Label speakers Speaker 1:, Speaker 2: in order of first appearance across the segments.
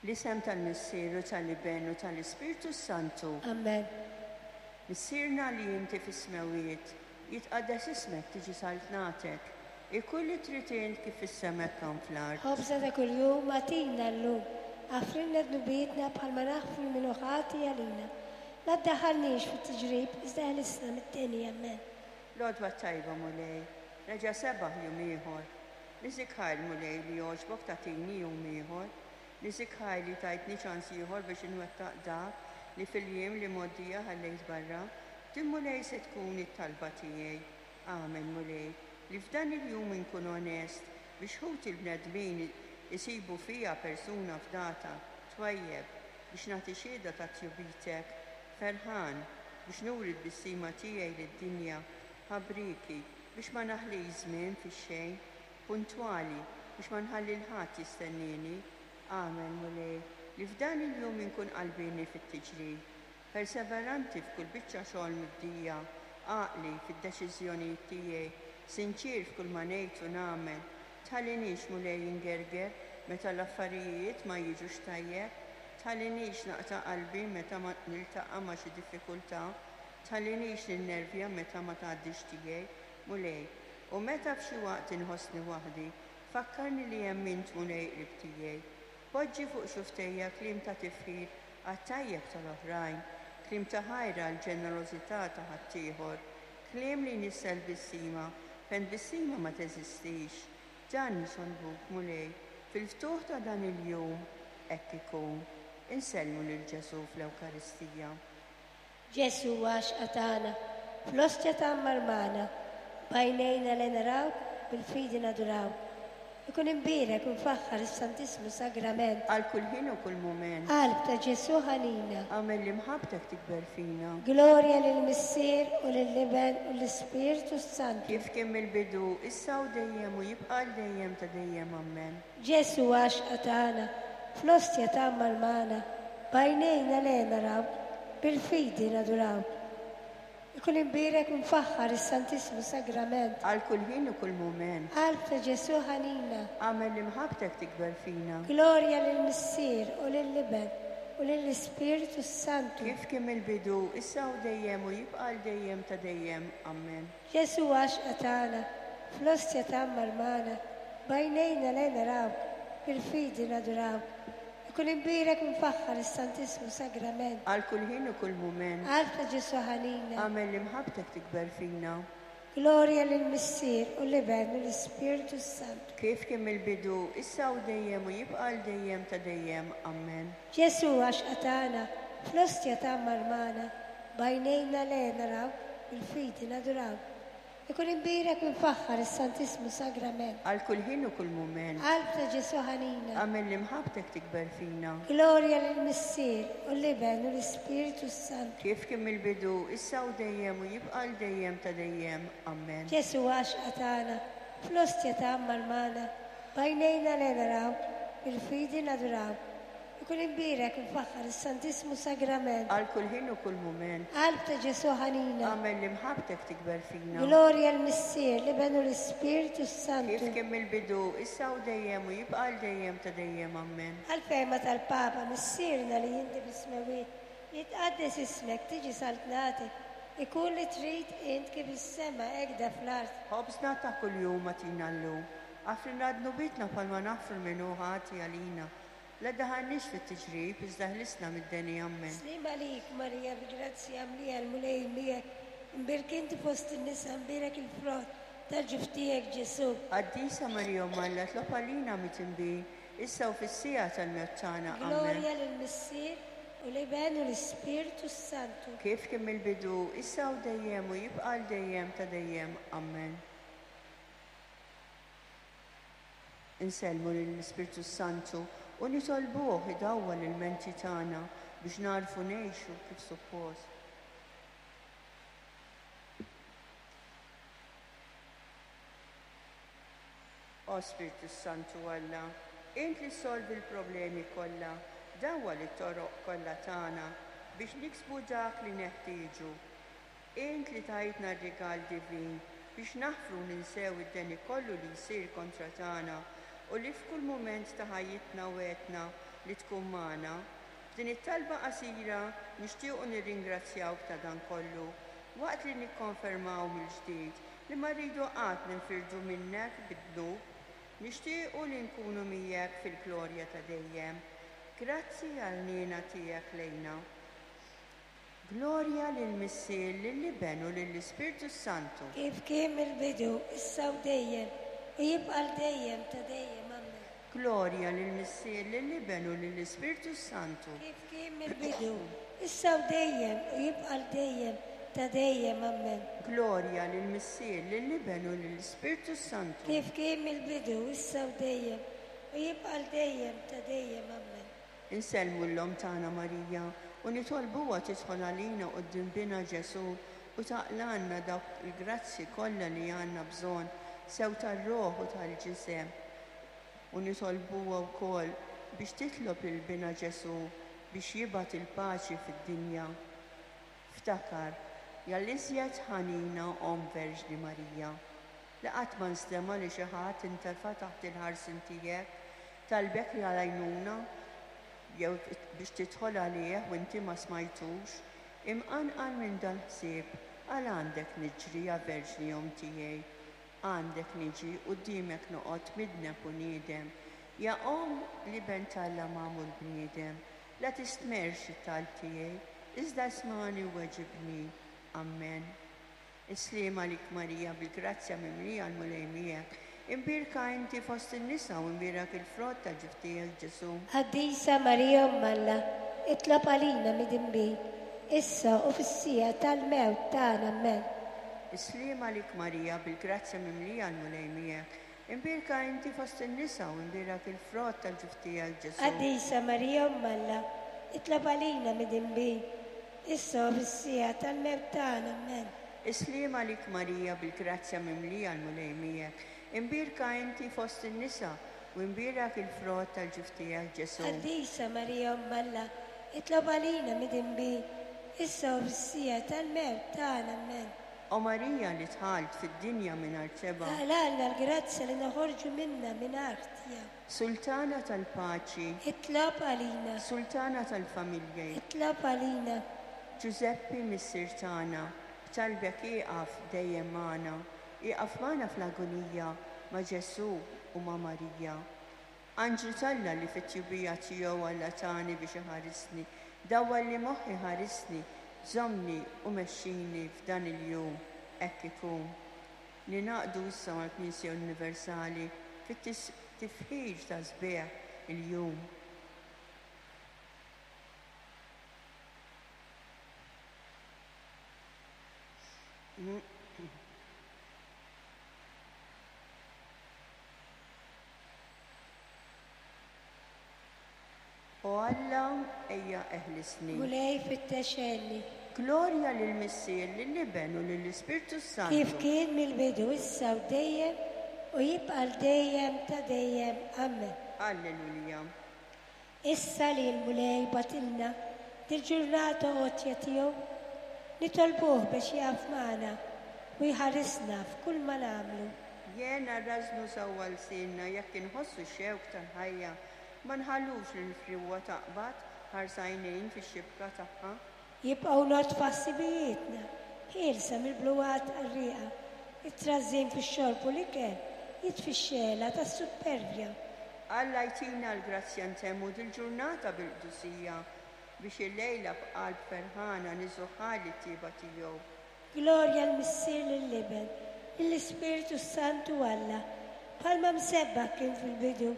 Speaker 1: Fl-isem tal-Missier u tal-Iben u tal-Ispirtu s-Santu.
Speaker 2: Amen.
Speaker 1: Missierna li inti fis-smewwiet, jitqaddes ismek tiġi saltnatek, ikun li trid int kif fis-sema hekk hawn fl-art.
Speaker 2: Ħobżna ta' kuljum agħtina llum. Aħfrilna dnubietna bħalma naħfru lil min hu ħati għalina. La ddaħħalniex fit-tiġrib, iżda eħlisna mid-deni. Amen.
Speaker 1: L-għodwa t-tajba, Mulej, reġa' sebaħ jum ieħor. Niżik ħajr, Mulej, li għoġbok tagħtini jum ieħor. Niżik ħajr li tajtni ċans ieħor biex inwettaq dak li fil-jiem l-imgħoddija ħallejt barra. Din, Mulej, se tkun it-talba tiegħi. Agħmel, Mulej, li f'dan il-jum inkun onest biex ħuti l-bnedmin isibu fija persuna fdata, twajjeb, biex nagħti xhieda ta' tjubitek, ferħan, biex nuri t-tbissima tiegħi lid-dinja, ħabrieki, biex ma naħlix żmien fix-xejn, puntwali, biex ma nħalli 'l ħadd jistennieni. Agħmel, Mulej, li f'dan il-jum inkun qalbieni fit-tiġrib, perseveranti f'kull biċċa xogħol mibdija, għaqli fid-deċiżjonijiet tiegħi, sinċier f'kull ma ngħid u nagħmel. Tħallinix, Mulej, ingerger meta l-affarijiet ma jiġux tajjeb. Tħallinix naqta' qalbi meta ma niltaqa' ma' xi diffikultà. Tħallinix ninnervja meta ma tgħaddix tiegħi, Mulej. U meta f'xi waqt inħossni waħdi, fakkarni li hemm int, Mulej, qrib tiegħi. Poġġi fuq xufftejja kliem ta' tifħir għat-tajjeb tal-oħrajn, kliem ta' ħajr għall-ġenerożità ta' ħaddieħor, kliem li jnissel tbissima fejn tbissima ma teżistix. Dan nitolbuk, Mulej, fil-ftuħ ta' dan il-jum, hekk ikun. Insellmu lil Ġesù fl-Ewkaristija.
Speaker 2: Ġesù għaxqa tagħna, fl-ostja tgħammar magħna, b'għajnejna le narawk, bil-fidi nadurawk. Ikun imbierek u mfaħħar is-Santissmu Sagrament.
Speaker 1: Għal kull ħin u kull mument.
Speaker 2: Qalb ta' Ġesù ħanina.
Speaker 1: Agħmel li mħabbtek tikber fina.
Speaker 2: Glorja lill-Missier u lill-Iben u lill-Ispirtu s-Santu.
Speaker 1: Kif kien mill-bidu, issa u dejjem u jibqa' għal dejjem ta' dejjem. Ammen.
Speaker 2: Ġesù għaxqa tagħna, fl-ostja tgħammar magħna, b'għajnejna le narawk, bil-fidi nadurawk. Ikun imbierek u mfaħħar is-Santissmu Sagrament.
Speaker 1: Għal kull ħin u kull mument.
Speaker 2: Qalb ta' Ġesù ħanina.
Speaker 1: Agħmel li mħabbtek tikber fina.
Speaker 2: Glorja lill-Missier u lill-Iben u lill-Ispirtu s-Santu.
Speaker 1: Kif kien mill-bidu, issa u dejjem u jibqa' għal dejjem ta' dejjem. Ammen.
Speaker 2: Ġesù għaxqa tagħna, fl-ostja tgħammar magħna, b'għajnejna le narawk, bil-fidi nadurawk. Ikun imbierek u mfaħħar is-Santissmu Sagrament.
Speaker 1: Għal kull ħin u kull mument.
Speaker 2: Qalb ta' Ġesù ħanina.
Speaker 1: Agħmel li mħabbtek tikber fina.
Speaker 2: Glorja lill-Missier u l-Iben u l-Ispirtu s-Santu.
Speaker 1: Kif kien mill-bidu, issa u dejjem u jibqa' għal dejjem ta' dejjem. Ammen.
Speaker 2: Ġesù għaxqa tagħna, fl-ostja tgħammar magħna, b'għajnejna le narawk, bil-fidi nadurawk. Ikun imbierek u mfaħħar is-Santissmu Sagrament.
Speaker 1: Għal kull ħin u kull mument.
Speaker 2: Qalb ta' Ġesù ħanina.
Speaker 1: Agħmel li mħabbtek tikber fina.
Speaker 2: Glorja lill-Missier u l-Iben u l-Ispirtu s-Santu.
Speaker 1: Kif kien mill-bidu, issa u dejjem u jibqa' għal dejjem ta' dejjem. Ammen.
Speaker 2: Ġesù għaxqa tagħna, fl-ostja tgħammar magħna, b'għajnejna le narawk, bil-fidi nadurawk. Ikun imbierek u mfaħħar is-Santissmu Sagrament.
Speaker 1: Għal kull ħin u kull mument.
Speaker 2: Qalb ta' Ġesù ħanina.
Speaker 1: Agħmel li mħabbtek tikber fina.
Speaker 2: Glorja l-Missier, l-Iben u l-Ispirtu s-Santu.
Speaker 1: Kif kien mill-bidu, issa u dejjem u jibqa' għal dejjem ta' dejjem. Ammen.
Speaker 2: Għall-fehma tal-Papa, Missierna li inti fis-smewwiet, jitqaddes ismek, tiġi saltnatek, ikun li trid int kif fis-sema hekk da fl-art.
Speaker 1: Ħobżna ta' kuljum agħtina llum. Aħfrilna dnubietna bħalma naħfru 'l min hu ħati għalina. La ddaħħalniex fit-tiġrib, iżda ħlisna mid-deni. Ammen.
Speaker 2: Sliem għalik, Marija, bi grazzja mlija l-Mulej miegħek, imbierk inti fost in-nisa, mbierek il-frott tal-ġuf tiegħek, Ġesù.
Speaker 1: Qaddisa Marija Omm Alla, tlob għalina midinbin, issa u fis-siegħa tal-mewt tagħna. Ammen.
Speaker 2: Glorja lill-Missier, u l-Iben u l-Ispirtu s-Santu.
Speaker 1: Kif kien mill-bidu, issa u dejjem u jibqa' għal dejjem ta' dejjem. Ammen. Insellmu lill-Ispirtu s-Santu u nitolbuh idawwal il-menti tagħna biex nagħrfu ngħixu kif suppost. O Spirtu s-Santu Alla, int li ssolvi l-problemi kollha, dawwal it-toroq kollha tagħna biex niksbu dak li neħtieġu. Int li tajtna r-rigal divin biex naħfru u ninsew id-deni kollu li jsir kontra tagħna u li f'kull mument ta' ħajjitna wegħdtna li tkun magħna. F'din it-talba qasira nixtiequ nirringrazzjawk ta' dan kollu, waqt li nikkonfermaw mill-ġdid li ma rridu qatt ninfirdu minnek bid-dnub. Nixtiequ li nkunu miegħek fil-glorja ta' dejjem. Grazzi għall-ħniena tiegħek lejna. Glorja lill-Missier, lill-Iben u lill-Ispirtu s-Santu.
Speaker 2: Kif kien mill-bidu, issa u dejjem, u jibqa' għal dejjem ta' dejjem. Ammen.
Speaker 1: Glorja lill-Missier, lill-Iben u lill-Ispirtu s-Santu.
Speaker 2: Kif kien mill-bidu, issa u dejjem, u jibqa' għal dejjem ta' dejjem. Ammen.
Speaker 1: Glorja lill-Missier, lill-Iben u lill-Ispirtu s-Santu.
Speaker 2: Kif kien mill-bidu, issa u dejjem, u jibqa' għal dejjem ta' dejjem. Ammen.
Speaker 1: Insellmu 'l Omm tagħna Marija u nitolbuha tidħol għalina quddiem Binha Ġesù u taqlgħalna dawk il-grazzji kollha li għandna bżonn, sew tar-ruħ u tal-ġisem. U nitolbuha wkoll biex titlob lil Binha Ġesù biex jibgħat il-paċi fid-dinja. Ftakar, ja l-iżjed ħanina Omm Verġni Marija, li qatt ma nstema' li xi ħadd intefa' taħt il-ħarsien tiegħek, talbek l-għajnuna jew biex tidħol għalih u inti ma smajtux, imqanqal minn dal-ħsieb, għal għandek niġri, ja Verġni Omm tiegħi, għandek niġi, quddiemek noqgħod midneb u niedem, ja Omm l-Iben t'Alla magħmul bniedem, la tistmerrx it-talb tiegħi, iżda ismagħni u weġibni. Ammen. Is-sliem għalik Marija, bil-grazzja mimlija l-Mulej miegħek. Imbierka inti fost in-nisa u imbierak il-frott ta' ġuf tiegħek Ġesù.
Speaker 2: Qaddisa Marija Omm Alla, itlob għalina midinbin, issa u fis-siegħa tal-mewt tagħna. Ammen.
Speaker 1: Is-sliem għalik Marija, bil-grazzja mimlija l-Mulej miegħek. Imbierka inti fost in-nisa u imbierak il-frott ta' ġuf tiegħek Ġesù.
Speaker 2: Qaddisa Marija Omm Alla, itlob għalina midinbin, issa u fis-siegħa tal-mewt tagħna. Ammen.
Speaker 1: Is-sliem għalik Marija, bil-grazzja mimlija l-Mulej miegħek. Imbierka inti fost in-nisa u imbierak il-frott tal-ġuf tiegħek Ġesù.
Speaker 2: Qaddisa Marija Omm Alla, itlob għalina midinbin, issa u fis-siegħa tal-mewt tagħna. Ammen.
Speaker 1: O Marija li dħalt fid-dinja mingħajr tebgħa.
Speaker 2: Aqlgħalna l-grazzja li noħorġu minnha mingħajr ħtija.
Speaker 1: Sultana tal-paċi.
Speaker 2: Itlob għalina.
Speaker 1: Sultana tal-familji.
Speaker 2: Itlob għalina.
Speaker 1: Ġużeppi Missier tagħna, b'talbek ieqaf dejjem magħna, ieqaf magħna fl-agonija ma' Ġesù u ma' Marija. Anġlu t'Alla li fit-tjubija tiegħu Alla tani biex iħarisni, dawwalli moħħi ħarisni, żommni u mexxini f'dan il-jum, hekk ikun. Ningħaqdu issa mal-Knisja Universali fit-tifħir ta' sbieħ il-jum. O Alla, ejja eħlisni.
Speaker 2: Mulej fittex għenni.
Speaker 1: Glorja lill-Missier, lill-Iben u lill-Ispirtu s-Santu.
Speaker 2: Kif kien mill-bidu, issa u dejjem, u jibqa' għal dejjem ta' dejjem. Ammen.
Speaker 1: Alleluja.
Speaker 2: Issa li l-Mulej bagħtilna dil-ġurnata għotja tiegħu, nitolbuh biex jaqaf magħna u jħarisna f'kull ma nagħmlu.
Speaker 1: Jena rrażżnu sewwa lsienna jekk inħossu x-xewk tal-ħajja, ma nħallux lill-friewa taqbad ħarsa għajnejn fix-xibka tagħha.
Speaker 2: Jibqgħu nodfa ħsibijietna, ħielsa mill-bluwat qarrieqa, it-trażżin fix-xorb u l-ikel jitfi x-xegħla tas-suppervja.
Speaker 1: Alla jtina l-grazzja ntemmu dil-ġurnata bil-qdusija, biex illejla b'qalb ferħana niżuħħa lit-tjieba tiegħu.
Speaker 2: Glorja l-Missier lill-Iben, lill-Ispirtu s-Santu Alla, bħalma msebbaħ kien fil-bidu,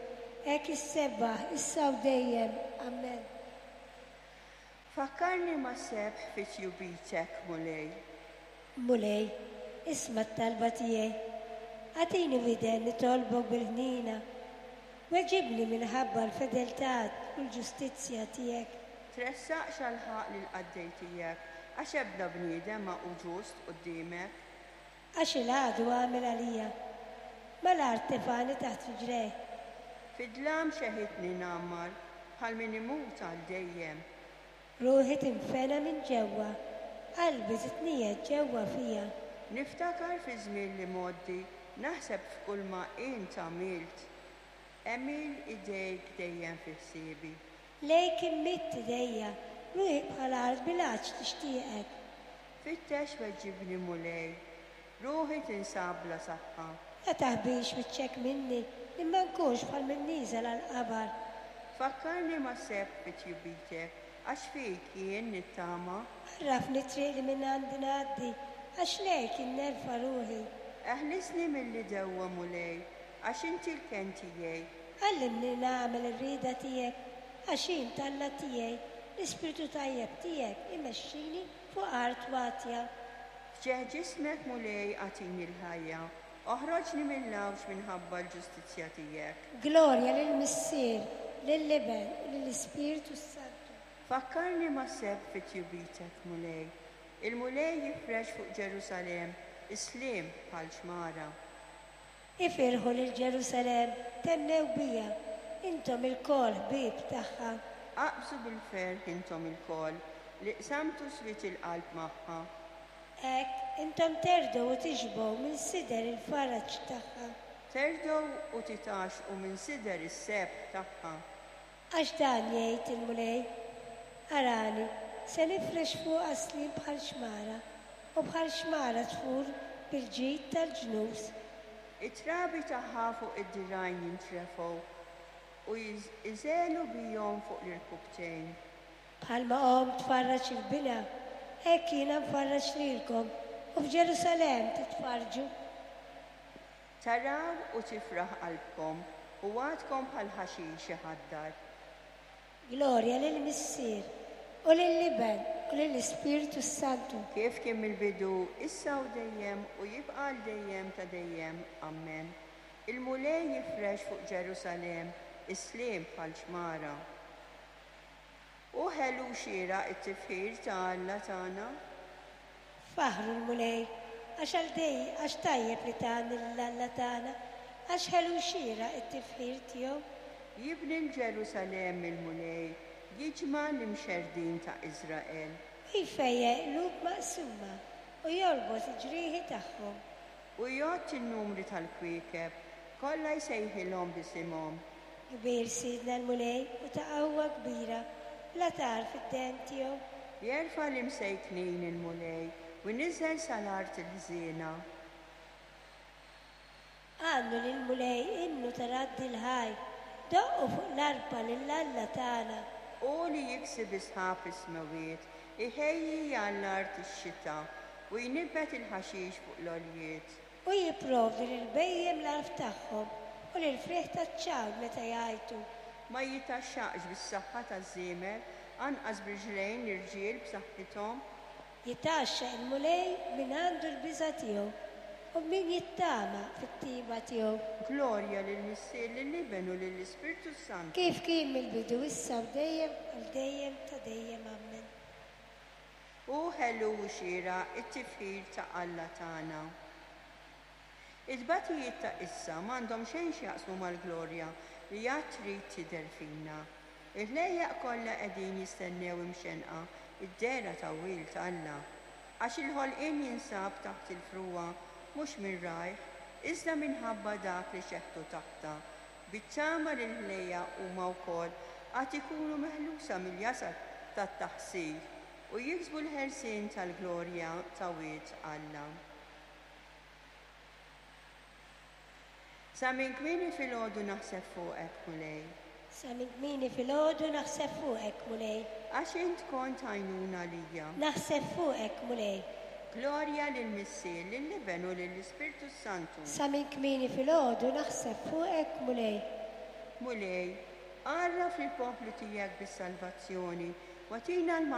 Speaker 2: hekk issebbaħ issa u dejjem. Amen.
Speaker 1: Fakkarni ma' sebħ fi tjubitek, Mulej.
Speaker 2: Mulej, isma' t-talba tiegħi. Agħtini widen nitolbok bil-ħniena. Weġibni minħabba l-fedeltà u l-ġustizzja tiegħek.
Speaker 1: Tressaqx għall-ħaqq lill-qaddej tiegħek, għax ebda bniedem ma hu ġust quddiemek.
Speaker 2: Għax il-għadu għamel għalija. Mal-art tefagħni taħt riġlejh.
Speaker 1: Fid-dlam xeħitni ngħammar, bħal min imut għal dejjem.
Speaker 2: Ruħi tinfena minn ġewwa, qalbi titniegħed ġewwa fija.
Speaker 1: Niftakar fiż-żmien l-imgħoddi, naħseb f'kulma int għamilt. Għemil idejk dejjem fi ħsiebi.
Speaker 2: Lejk immidd idejja, ruħi bħal art bil-għatx tixtieqek.
Speaker 1: Fittex weġibni Mulej, ruħi tinsab bla saħħa.
Speaker 2: La taħbix wiċċek minni, li ma nkunx bħal min nieżel għall-qabar.
Speaker 1: Fakkarni ma' sebħ fi tjubitek, għax fik jien nittama.
Speaker 2: Għarrafni t-triq li minn għandi ngħaddi, għax lejk jien nerfa' ruħi.
Speaker 1: Eħlisni mill-għidewwa, Mulej, għax inti l-kenn tiegħi.
Speaker 2: Għallimni nagħmel ir-rieda tiegħek, għax int Alla tiegħi, l-ispirtu tajjeb tiegħek imexxini fuq art watja.
Speaker 1: F'ġieħ ġismek, Mulej, agħtini l-ħajja, oħroġni mill-għawġ minħabba l-ġustizzja tiegħek.
Speaker 2: Glorja lill-Missier, lill-Iben u lill-Ispirtu s-Santu.
Speaker 1: Fakkarni ma' sebħ fi tjubitek, Mulej. Il-Mulej jifrex fuq Ġerusalemm is-sliem bħal xmara.
Speaker 2: Ifirħu lil Ġerusalemm, thennew biha, intom ilkoll ħbieb tagħha.
Speaker 1: Aqbżu bil-ferħ intom ilkoll li qsamtu swied il-qalb magħha.
Speaker 2: Hekk intom terdgħu u tixbgħu minn sider il-faraġ tagħha.
Speaker 1: Terdgħu u titgħaxxqu minn sider is-sebħ tagħha.
Speaker 2: Għax dan jgħid il-Mulej, Arani, se nifrex fuqha sliem bħal xmara, u bħal xmara tfur bil-ġid tal-ġnus.
Speaker 1: It-trabi tagħha fuq id-dirgħajn jintrefgħu, u jżegħlu bihom fuq l-irkubtejn.
Speaker 2: Bħalma omm tfarraġ 'il binha, hekk jiena nfarraġ lilkom, u f'Ġerusalemm titfarrġu.
Speaker 1: Taraw u tifraħ qalbkom, u għadkom bħal ħaxix iħaddar.
Speaker 2: Glorja lill-Missier, u lill-Iben, u lill-Ispirtu s-Santu.
Speaker 1: Kif kien mill-bidu, issa u dejjem, u jibqa' għal dejjem ta' dejjem. Ammen. Il-Mulej jifrex fuq Ġerusalemm is-sliem bħal xmara. Hu ħelu u xieraq it-tifħir ta' Alla tagħna.
Speaker 2: Faħħru l-Mulej, għax għal dej, għax tajjeb li tgħanni lil Alla tagħna, għax ħelu u xieraq it-tifħir tiegħu.
Speaker 1: Jibni 'l Ġerusalemm il-Mulej, jiġma' l-imxerrdin ta' Iżrael.
Speaker 2: Hu jfejjaq qlub maqsuma, u jorbot il-ġrieħi tagħhom.
Speaker 1: Hu jgħodd in-numri tal-kwiekeb, kollha jsejħilhom b'isimhom.
Speaker 2: Kbir Sidna l-Mulej u ta' qawwa kbira, bla tarf id-dehen tiegħu.
Speaker 1: Jerfa' l-imsejknin il-Mulej, u jniżżel sal-art il-ħżiena.
Speaker 2: Għannu lill-Mulej innu ta' radd il-ħajr, doqqu fuq l-arpa lil Alla tagħna.
Speaker 1: Hu li jiksi bi sħab is-smewwiet, iħejji għall-art ix-xita, u jnibbet il-ħaxix fuq l-għoljiet.
Speaker 2: Hu jipprovdi lill-bhejjem l-għalf tagħhom u lill-frieħ taċ-ċagħal meta jgħajtu.
Speaker 1: Ma jitgħaxxaqx bis-saħħa taż-żiemel, anqas b'riġlejn l-irġiel b'saħħithom.
Speaker 2: Jitgħaxxaq il-Mulej min għandu l-biża' tiegħu, u min jittama fit-tieba tiegħu.
Speaker 1: Glorja lill-Missier, lill-Iben u lill-Ispirtu s-Santu.
Speaker 2: Kif kien mill-bidu, issa u dejjem, għal dejjem ta' dejjem. Ammen.
Speaker 1: Hu ħelu u xieraq it-tifħir ta' Alla tagħna. It-tbatijiet ta' issa m'għandhom xejn x'jaqsmu mal-glorja li għad trid tidher fina. Il-ħlejjaq kollha qegħdin jistennew imxennqa d-dehra ta' wild Alla. Għax il-ħolqien jinsab taħt il-frugħa mhux minn rajh, iżda minħabba dak li xeħtu taħtha, bit-tama li l-ħlejjaq huma wkoll għad ikunu meħlusa mill-jasar tat-taħsir u jiksbu l-ħelsien tal-glorja ta' wied Alla. Sa minn kmieni filgħodu naħseb fuqek, Mulej.
Speaker 2: Sa minn kmieni filgħodu naħseb fuqek, Mulej.
Speaker 1: Għax int kont għajnuna għalija.
Speaker 2: Naħseb fuqek, Mulej.
Speaker 1: Glorja lill-Missier, lill-Iben u lill-Ispirtu s-Santu.
Speaker 2: Sa minn kmieni filgħodu naħseb fuqek, Mulej.
Speaker 1: Mulej, għarraf lill-poplu tiegħek bis-salvazzjoni, u agħtina l-maħfra.